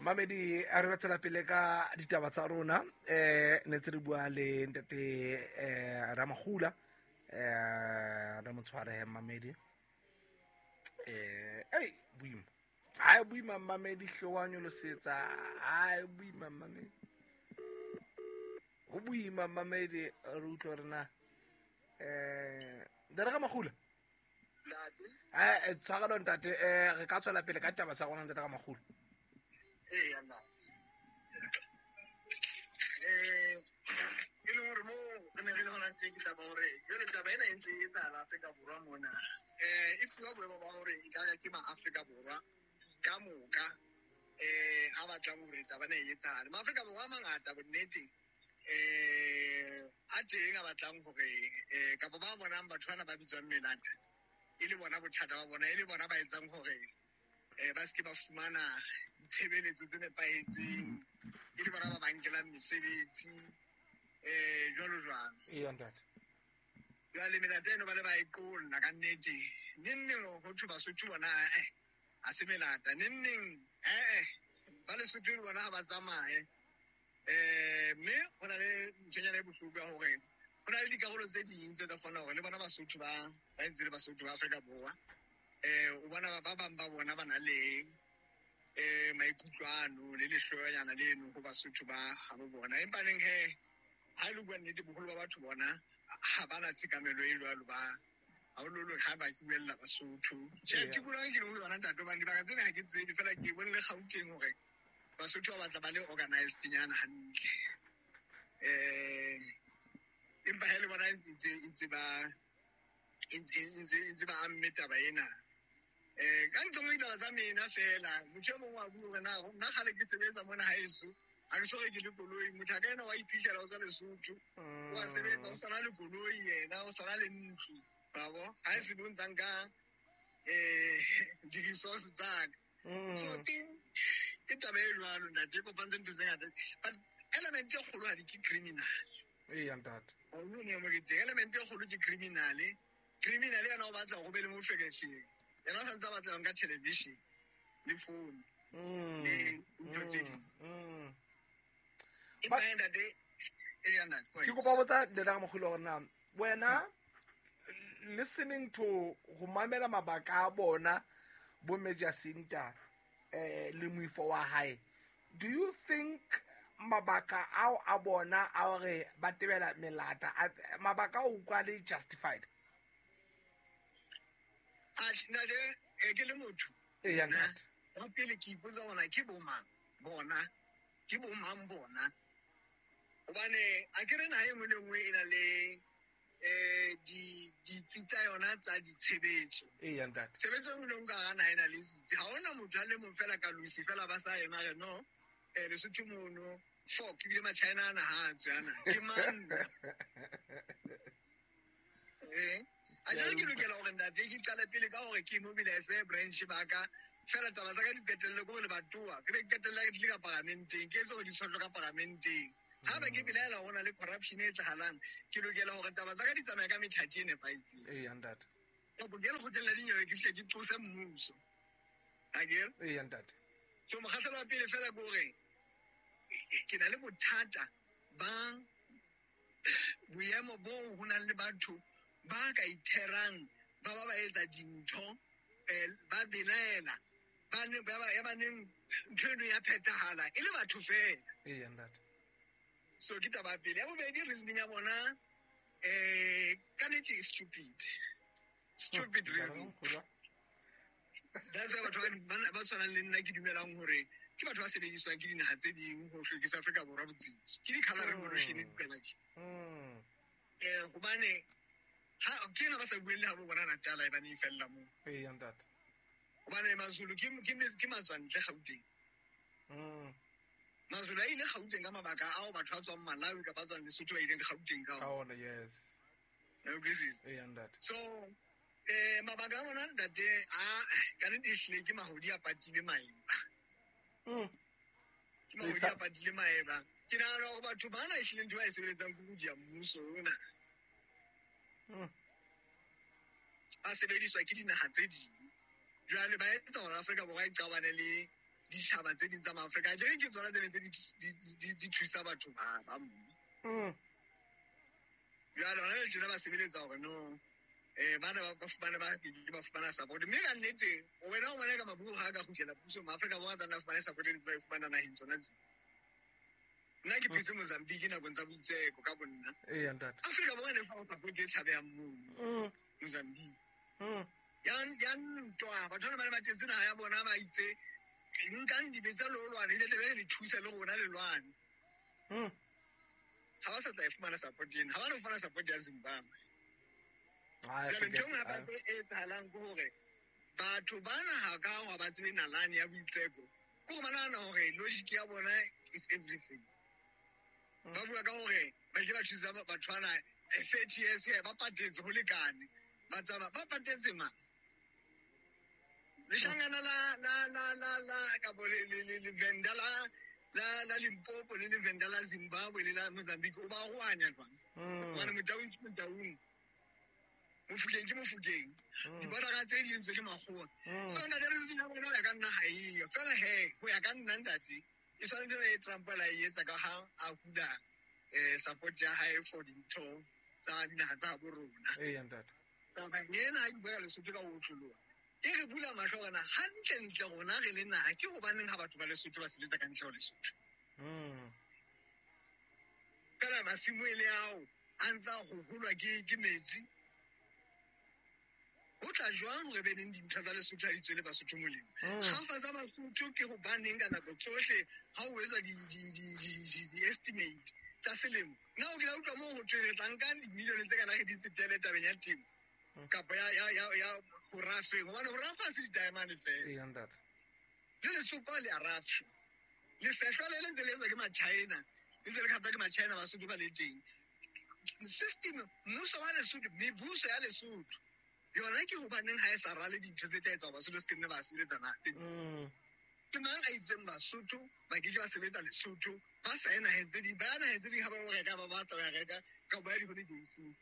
Mamedi, a re tswela pele ka ditaba tsa rona. Ne tse re bua le ntate Ramagula, re mo tshware mamedi. Ei boima. Ha boima mamedi hlowa nyolosetsa. Ha boima mamedi. Ho boima mamedi re utlwa rena. Ntate Ramagula. Tshwarelo ntate, re ka tswela pele ka taba tsa rona ntate Ramagula. Ee, nna. E leng hore mo re ne re le hona teng ke taba hore jwale taba ena e ntse e etsahala Afrika Borwa mona. E fuwa boemo ba hore e ka ke ma-Afrika Borwa ka moka a batlang hore taba ena e etsahale. Ma-Afrika Borwa a mangata bonneteng a teng a batlang hore kapa ba bonang batho bana ba bitswang melata e le bona bothata ba bona, e le bona ba etsang hore ba se ke ba fumana ditshebeletso tse nepahetseng, e le bona ba ba nkelang mesebetsi jwalo jwalo. Eya ntate. Jwale melata eno ba le ba e qolla ka nnete. Neng neng ho thwe Basotho bona ha se melata. Neng neng ba Lesotho le bona ha ba tsamaye. Mme ho na le nthonyana e bohloko ya hore ho na le dikarolo tse ding tse ka kgona hore le bona Basotho ba ntse le Basotho ba Afrika Borwa. O bona ba bang ba bona ba na le maikutlo ano le lehloyanyana leno ho Basotho ba habo bona. Empa neng he ha e le bua nnete, boholo ba batho bona ha ba na tshekamelo e jwalo, ba haholoholo ha ba buella Basotho. Tjhe, tikoloho ke leng ho yona ntate, hobane dibaka tsena ha ke tsebe, fela ke bone le Gauteng hore Basotho ba batla ba le organized nyana hantle. Empa ha e le bona ntse ba amme taba ena. Ka ntle ho ditaba tsa mena fela, motho e mong wa bua hore na nna kgale ke sebetsa mona haeso, ha ke so reke le koloi. Motho a ka ena wa iphihlela o tswa Lesotho, wa sebetsa, o sana le koloi yena, o sana le ntlo, wa bo? Ha e se bo ntsa nka di-resource tsa ka. So ke taba e jwalo ntate, e kopantse ntho tse ngata. But element e kgolo ha di ke criminal. Eya ntate. Element e kgolo ke criminal. Criminal yena o batla ho be le moferefere. Yena o santse a batla nka television le phone le ntho tse ding. Empa ntate, eya ntate, Ke kopa botsa ntate Ramogolo hore na wena listening to ho mamela mabaka a bona bo Major Sinta le moifo wa hae, do you think mabaka ao a bona a hore ba tebela melata, mabaka ao utlwa le justified? Ntate, ke le motho. Eya ntate. Wa pele ke ipotsa hore ke bo mang bona, ke bo mang bona. Hobane a ke re naha e nngwe le nngwe e na le ditsi tsa yona tsa ditshebetso. Eya ntate. Tshebetso e nngwe le nngwe ka hara naha e na le setsi. Ha hona motho a le mong fela ka losi fela ba sa ema re no, Lesotho mono, fork, ebile Machina ana ha a tswe ana. Ke mang? A jwale ke lokela hore ntate ke qale pele ka hore ke mobilize branch ba ka. Fela taba tsa ka di qetelle ko lebatowa. Ke be ke qetelle ke tlile ka paramenteng, ke etse hore di tshohlwe ka paramenteng. Ha ba ke belaela hore ho na le corruption e etsahalang, ke lokela hore taba tsa ka di tsamaye ka methati e nepahetseng. Eya ntate. Kapo ke lekgotleng la dinyewe ke fihle ke qose mmuso. Akere? Eya ntate. So mokgahlelo wa pele fela ke hore ke na le bothata ba boemo boo ho nang le batho ba ka itherang, ba ba ba etsa dintho, ba belaela, ba ne, ba ba, ya ba neng ntho eno ya phethahala e le batho fela. Eya ntate. So ke taba ya pele. Ya bobedi, reasoning ya bona ka nnete e stupid. Stupid reasoning. That's why batho ba tshwanang le nna ke dumelang hore ke batho ba sebediswang ke dinaha tse ding ho hlwekisa Afrika Borwa botsitso. Ke di-colour revolution fela tje. Hobane ha ke ena ba sa bueng le ha bo bona Natal e bane e fella moo. Eya ntate. Hobane Mazulu ke matswantle Gauteng. Mazulu a ile Gauteng ka mabaka ao batho ba tswang Malawi kapa ba tswang Lesotho ba ileng Gauteng ka ona. Ka ona, yes. Utlwisisa? Eya ntate. So mabaka a bona ntate a ka nnete ehlile ke mahodi a patile maeba. Ke mahodi a patile maeba. Ke nahana hore batho bana ehlile ntho ba e sebeletsang ke ho dia mmuso ona. Ba sebediswa ke dinaha tse ding. Jwale ba etsa hore Afrika Borwa e qabane le ditjhaba tse ding tsa maAfrika. Akere ke tsona tse ne tse di thusa batho ba mo. Jwale hona le tjena ba sebeletsa hore no bana ba fumane ba ba fumana support. Mme ka nnete wena o bona ka mabuo ha ka kgutlela pusong Maafrika Borwa a tla fumana support e ntse ba e fumana naheng tsona tse. Nna ke phetse Mozambique nakong tsa boitseko ka bonna. Eya ntate. Afrika Borwa e ne fa support e tshabehang mono Mozambique. Ya ntwa batho bana ba ne ba tetse naha ya bona ba itse nkang dibetsa le lwane le tle le thusa le rona le lwane. Ha ba sa tla e fumana support ena, ha ba no fumana support ya Zimbabwe. Jwale ntho e nngwe hape e etsahalang ke hore batho bana ha ka ha ba tsebe nalane ya boitseko, ke hore ba nahana hore logic ya bona is everything. Ba bua ka hore ba ile ba thusa batho bana 30 years ba patetse ho lekane. Ba tsamaya ba patetse mang? Leshangana la la la la la kapo le Venda la la la Limpopo le Venda la Zimbabwe le la Mozambique o ba roanya jwang? Hobane Motaung ke Motaung, Mofokeng ke Mofokeng, dibodara tse di entswe ke makgowa. So ntate re se bona ho ya ka nna ha eyo. Fela he ho ya ka nna ntate e tshwanetse e Trump la e etsa ka ha a hula support ya hae for dintho tsa dinaha tsa bo rona. Eya ntate. Taba ena ha ke bua Lesotho ka ho otloloha, e re bula mahlo hore na hantlentle rona re le naha ke hobaneng ha batho ba Lesotho ba sebetsa ka ntle ho Lesotho. Fela masimo e le ao a ntsa ho holwa ke metsi. Ho tla jwang hore be neng dintho tsa Lesotho ha di tswele Basotho molemo? Kgafa tsa Basotho ke hobaneng ka nako tsohle ha ho etswa di-estimate tsa selemo. Nna o kile utlwa moo ho thwe re tla nka dimilione tse kana re di tsetele tabeng ya temo kapa ya ho rafeng, hobane ho rafa ha se di-diamond fela. Eya ntate. Le letsopa le a rafshwa. Lesehlwa le ntse le etswa ke ma-China, le ntse le kgatwa ke ma-China Basotho ba le teng. System, mmuso wa Lesotho, mebuso ya Lesotho yona ke hobaneng ha e sa rale dintho tse tla etsa Basotho se ke nne ba sebetsa naha tse ding. Ke mang a itseng Basotho ba ke ke ba sebetsa Lesotho ba sa ye naheng tse ding, ba ya naheng tse ding ha ba reka ba batla ba reka ka ba ya di-holidays-eng.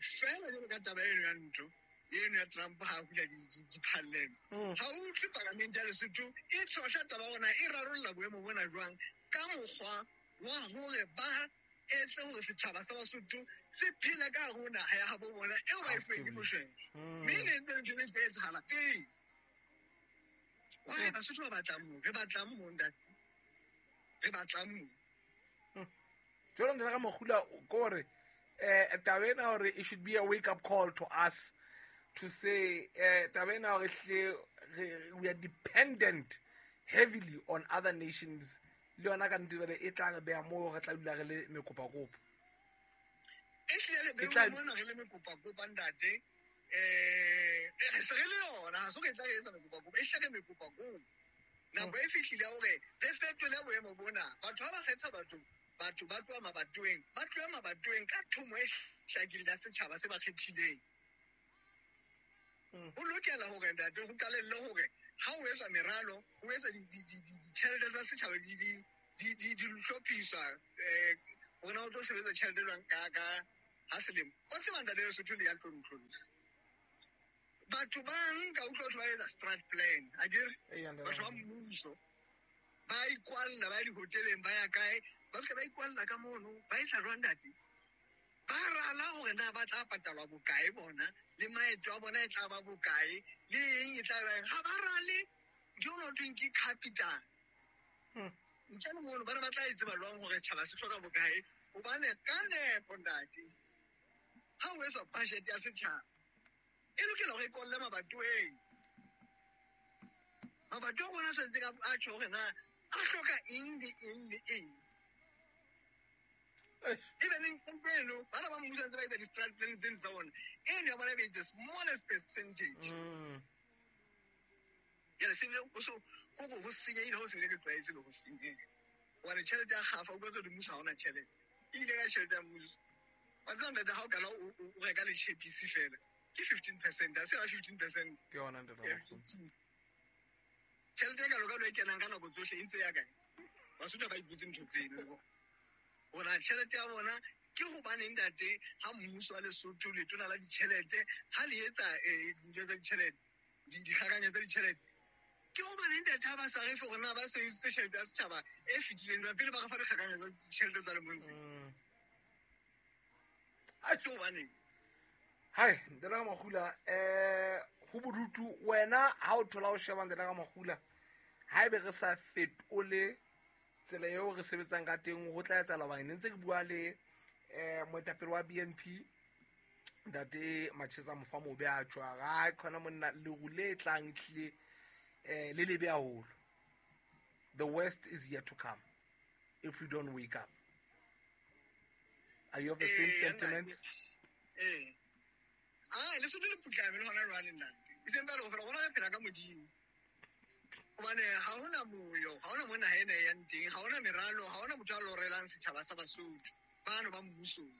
Fela jwalo ka taba eno ya ntho eno ya Trump ha hula diphallelo. Ha o utlwe palamente ya Lesotho e tshohla taba hore na e rarolla boemo bona jwang ka mokgwa wa hore ba etse hore setjhaba sa Basotho se phele ka hare ho naha ya habo bona eo ba e fuweng ke Moshweshwe. Mme e ne ntse ntho e ntse etsahala pele. Why Basotho ba batlang moo? Re batlang moo ntate. Re batlang moo. Jwale ntate ka Mokgula ke hore taba ena hore it should be a wake up call to us to say taba ena hore hle we are dependent heavily on other nations. Le yona ka nnete jwale e tla re beha moo re tla dula re le mekopakopa. E hlile re beha mona re le mekopakopa ntate. Re se re le yona, ha se re tla re etsa mekopakopa, e hlile re mekopakopa. Nako e fihlile hore re fetole boemo bona. Batho ha ba kgetha batho ba tloha mabatoweng, ba tloha mabatoweng ka thomo e hlakileng ya setjhaba se ba kgethileng. Ho lokela hore ntate ho qalelle hore ha o etswa meralo, ho etswa ditjhelete tsa setjhaba di hlophiswa, hore na o tlo sebetsa tjhelete jwang ka ha selemo. O tseba ntate Lesotho le ya tlontlollo. Batho ba nka utlwa batho ba etsa strat plan, akere? Batho ba mmuso ba ikwalla, ba ya dihoteleng, ba ya kae, ba fihla ba ikwalla ka mono, ba isa jwang ntate? Ba rala hore na ba tla patalwa bokae bona, le maeto a bona e tla ba bokae, le eng e tla ba eng. Ha ba rale ntho eo ho thweng ke capital. Ntle le mono, bana ba tla e tseba jwang hore tjhaba se hloka bokae? Hobane ka nepo ntate, ha o etswa budget ya setjhaba, e lokela hore e kolle mabatoweng. Mabatowa a rona a tshwanetse a tjho hore na a hloka eng le eng le eng. Even in eno, bana ba mmuso ntse ba etsa di-strat plan tseno tsa bona, eno ya bona e be the smallest percentage. Jwale se bile ho so, kore ho senyehile, ho se bile ke tlwaetse le ho senyeha. Hobane tjhelete ya kgafa, o utlwa hore mmuso ha ona tjhelete. Ebile ka tjhelete ya mmuso. Wa tseba ntate, ha o qala o reka le tjhepisi fela, ke 15%, ha se yona 15%. Ke yona ntate Ke Mokgolo. Tjhelete e kalo-kalo e kenang ka nako tsohle e ntse ya kae? Basotho ba ipotse ntho tseno. Hore tjhelete ya bona ke hobaneng ntate ha mmuso wa Lesotho letona la ditjhelete ha le etsa dintho tsa ditjhelete, dikgakanyo tsa ditjhelete, hobaneng ntate ha ba sa re fe gore na ba sebedisitse tjhelete ya setjhaba e fetileng jwang pele ba re fa dikgakanyo tsa ditjhelete tsa lemong se? Ke hobaneng? Hai, ntate ka Makgula, ho bodutu wena ha o thola o sheba ntate ka Makgula, haebe re sa fetole tsela eo re sebetsang ka teng ho tla etsahala hobane ne ntse ke bua le moetapele wa BNP ntate Macheza Mofamobe a tjwa ga khona monna leru le tlang tlile le lebe haholo. The worst is yet to come if we don't wake up. Are you of the same sentiments? Ah, Lesotho le putlame le hona jwale ntate. E seng feela hore rona re phela ka Modimo. Hobane ha hona moyo, ha hona mo naha ena e yang teng, ha hona meralo, ha hona motho a lorelang setjhaba sa Basotho. Bano ba mmusong.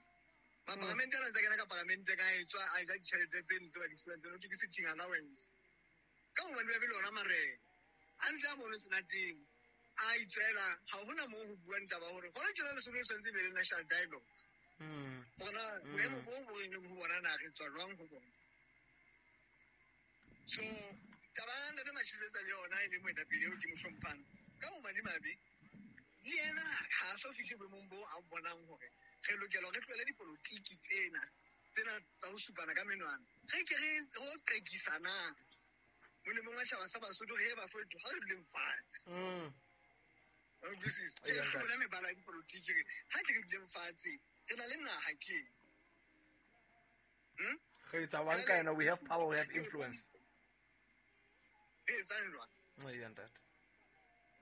Mapalamente ana ntse a kena ka palamente ka etswa a ja ditjhelete tseno tse ba di fuwang tseno, ho thwe ke sitting allowance. Ka hobane ba be le ona marena. A ntse a mono senateng, a itswela, ha hona moo ho buang taba hore hona tjena Lesotho le tshwanetse e be le national dialogue. Bona boemo bo bo re leng ho bona na re tswa jwang ho bona. So taba ya ntate Machisetsa le yona e le moetapele eo ke mo hlomphang ka ho madimabe le yena ha a so fihle boemong bo a bonang hore re lokela re tlohele dipolotiki tsena tsa ho supana ka menwana. Re ke re ho qekisana molemong wa tjhaba sa Basotho re ba fetho ha re duleng fatshe. Wa utlwisisa? Ke re bona mebala ya dipolotiki re ha ke re duleng fatshe re na le naha ke. Re etsa one kind of, we have power, we have influence. Re etsang jwang? Eya ntate.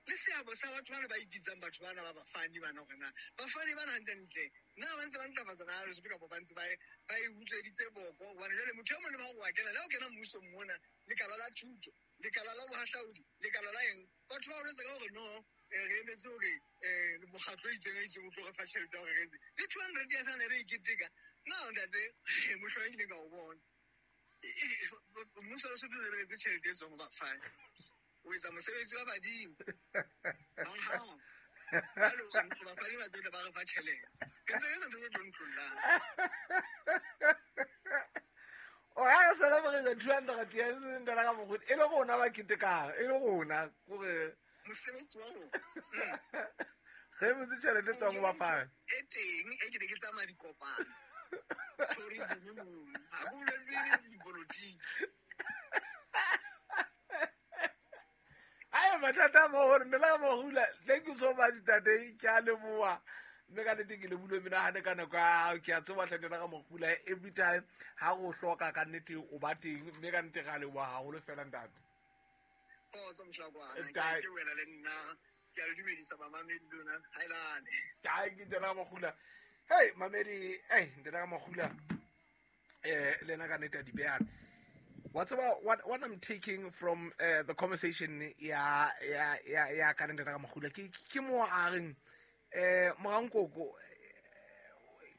Le seabo sa batho bana ba ipitsang batho bana ba bafani bana hore na bafani bana hantlentle na ba ntse ba ntlafatsa naha Lesotho kapa ba ntse ba e utsweditse boko? Hobane jwale motho e mong le mang wa kena, le ha o kena mmusong mona, lekala la thuto, lekala la bohahlaudi, lekala la eng, batho ba o jwetsa ka hore no, re emetse hore mokgatlo o itseng o itseng o tlo re fa tjhelete ya hore re etse. Le 200 years a ne re e keteka, na ntate, mohlolo e kileng ka o bona. Mmuso wa Lesotho o re etse tjhelete e tswang ho bafani. O etsa mosebetsi wa badimo. Ba hao. Jwale o bafani ba tlo ba re fa tjhelete. Ke ntse ke etsa ntho tse tlontlollang. O ya re celebrate 200 years ntate ka Mokgodi, e le rona ba ketekang, e le rona kore mosebetsi wa rona. Re emetse tjhelete e tswang ho bafani. E teng e ke ne ke tsamaya dikopano. Tourism mono. Ha ke bolele dipolotiki. Ai mathata a maholo, nna ka Makgula, thank you so much ntate, ke a leboha. Mme ka nnete ke lebohile menahane ka nako ya hao, ke a tseba hle ntate ka Makgula, every time ha o hloka ka nnete o ba teng, mme ka nnete re a leboha haholo fela ntate. Kgotso mohlakwana, ke wena le nna, ke a le dumedisa bamamedi lona, haelane. Ai ke ntate ka Makgula. Hey mamedi, hey ntate ka Makgula. Le ena ka nnete a di behana. What's about what I'm taking from the conversation ya ka ntate ka Makgula ke mo a reng morankoko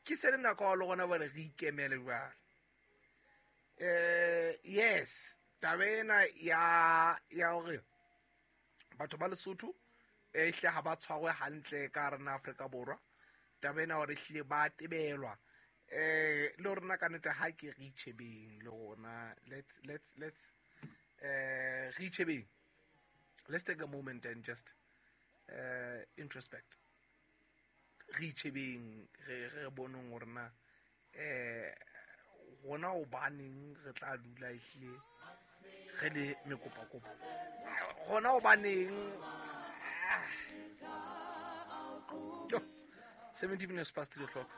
ke se le nako le gona bale re ikemele jwale. Yes, taba ena ya hore batho ba Lesotho hle ha ba tshwarwe hantle ka hara naha Afrika Borwa, taba ena hore ehlile ba tebelwa. Le rona ka nnete ha ke re itjhebeng le rona, let's re itjhebeng. Let's take a moment and just introspect. Re itjhebeng, re boneng hore na rona hobaneng re tla dula ehlile re le mekopakopa. Rona hobaneng 17 minutes past 3 o'clock.